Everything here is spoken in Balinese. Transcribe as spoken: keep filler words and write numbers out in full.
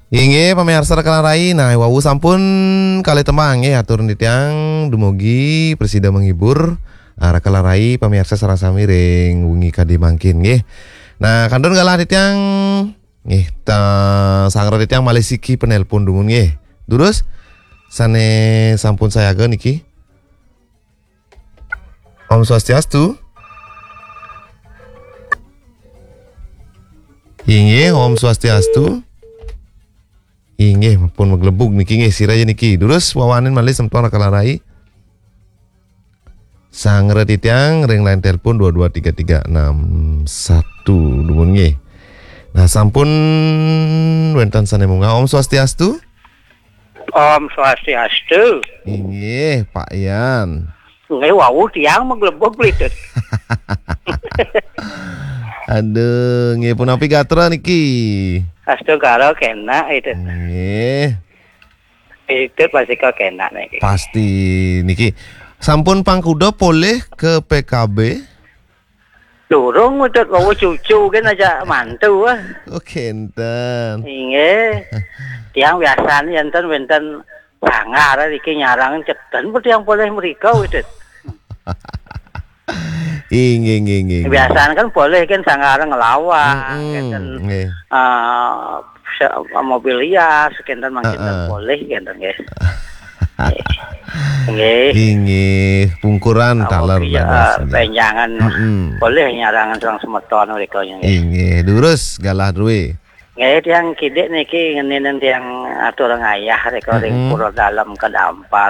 Inggih, pamiarsa Raka lan Rai, nah, wau sampun kalih tembang, nggih, atur titiang dumugi prasida menghibur, ah, Raka lan Rai, pamiarsa sareng sami ring wengi kadi mangkin, nggih. Nah, kantun galah titiang, nggih, ta-, sanggra titiang malih siki penelpon dumun, nggih. Durus, sane sampun sayaga niki. Om Swastiastu. Inggih, Om Swastiastu. Inggih, pun maglebug niki, nggih, sira ya niki. Durus wawanin malih semeton Raka lan Rai. Sanggra titiang ring line telepon dua dua tiga tiga enam satu dumun, nggih. Nah, sampun wenten sane munggah. Om Swastiastu. Om Swastiastu. Inggih, Pak Yan. Nggih, wau tiang maglebug, Litut. Aduh, nggih, punapi gatra niki? Astungkara kenak, Litut. Nggih. Litut pasti kok kenak niki. Pasti niki. Sampun pangkuda polih ke P K B? Durung, Litut, wau cucu kan aja mantu, ah. Oh, kenten. Inggih. Tiang biasane enten wenten sanggar niki nyarang ceten pun tiang polih mrika, Litut. Inggih, inggih, inggih, inggih. Biasane kan polih kan sanggar ngelawak, mm-mm, ngeten, nggih, eh, se-, mobil hias, kenten mangkin, heeh, polih kenten, nggih. Nggih. Inggih, pungkuran taler mobil, dados, eh, nggih, benjangan, mm-mm, polih nyarangan sareng semeton mrika, nggih. Inggih, durus galah druwe. Nggih, tiang kidik niki ngeninin tiang atur ngayah rika ring, mm-mm, Pura Dalem Kedampal.